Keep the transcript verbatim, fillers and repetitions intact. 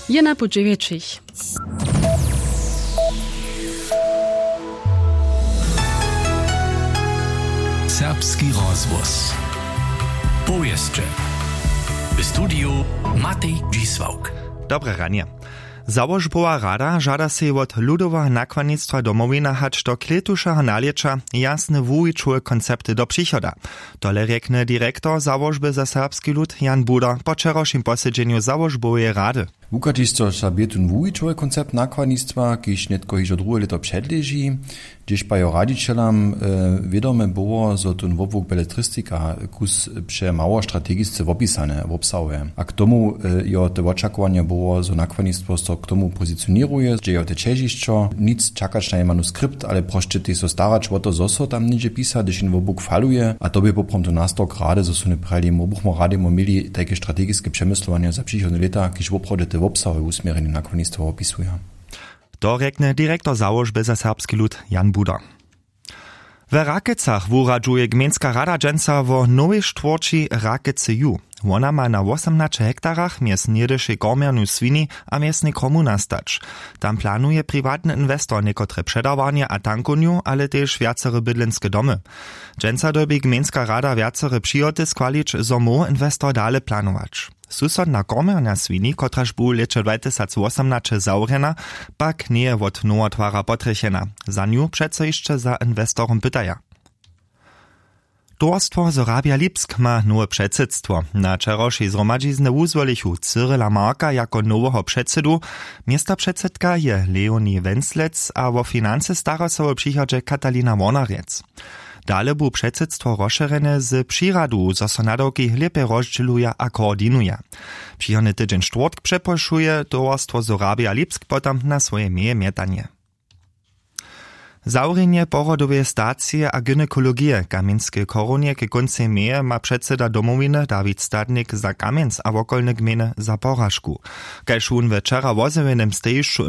Je na puće wjetšich. Serbski rozhłos. Powěsće. W studiju Matej Dźisławk. Dobre ranje. Załožbowa rada žada sej wot ludoweho nakładnistwa Domowina hač do klětušeho nalěća jasne wuwićowe koncepty do přichoda. Tole rjekny direktor załožby za serbski lud Jan Buda po wčerawšim posedźenju załožboweje rady. Wuchadźišćo za bě tón wuwićowy koncept nakładnistwa, kiž nětko hižo druhe lěto předleži, hdźež pa jeho radźićelam wědome było, zo tón wobłuk beletristika kus přemało strategisce wopisane wobsahuje. A k tomu jeho te wočakowanje było, zo nakładnistwo so k tomu pozicioněruje, hdźe jo te ćežišćo, nic čakać na jej manuskript, ale prosće tež so starać wo to, zo so tam něhdźe pisa, hdyž jen wobłuk faluje. A to bě poprawom to nastawk rady, zo su ne prjali, mo buchmo rady mo měli tajke strategiske přemyslowanja za přichodne lěta, kiž woprawdźe te wobsahowe wusměrjenje nakładnistwa wopisuja. To rjekny direktor załožby za serbski lud Jan Buda. We Rakecach wuradźuje gmejnska rada dźensa wo nowej štwórći Rakece ju. Wona ma na wosomnaće hektarach mjez něhdyšej kormjernu swini a mjeznej kromu nastać. Tam planuje priwatny inwestor někotre předawarnje a tankownju, ale tež wjacere bydlenske domy. Dźensa dyrbi gmejnska rada wjacere přihoty schwalić, zo móhł inwestor dale planować. Susodna kormjerna swini, kotraž bu w lěće dwatysacwosomnaće zawrjena, pak njeje wot nowotwara potrjechena. Za nju přeco hišće za inwestorom pytaja. Towarstwo Sorabia Lipsk ma nowe předsydstwo. Na wčerawšej zhromadźiznje wuzwolichu Cyrila Marka jako noweho předsydu. Městopředsydka je Leonie Wenslec a wo financy stara so w přichodźe Katalina Wornarjec. Dale bu předsydstwo rozšěrjene z přiradu, zo so nadawki lěpje rozdźěluja a koordinuja. Přichodny tydźeń štwórtk přeprošuje towarstwo Sorabia Lipsk potom na swoje meje mjetanje. Zawrjenje porodoweje stacije a gynekologije w Kamjenskej chorunje k kóncej meje ma předsyda Domowiny Dawid Stadnik za Kamjenc a wokolne gmejny za poražku. Kaž wón we wčera wozjewjenem stejišću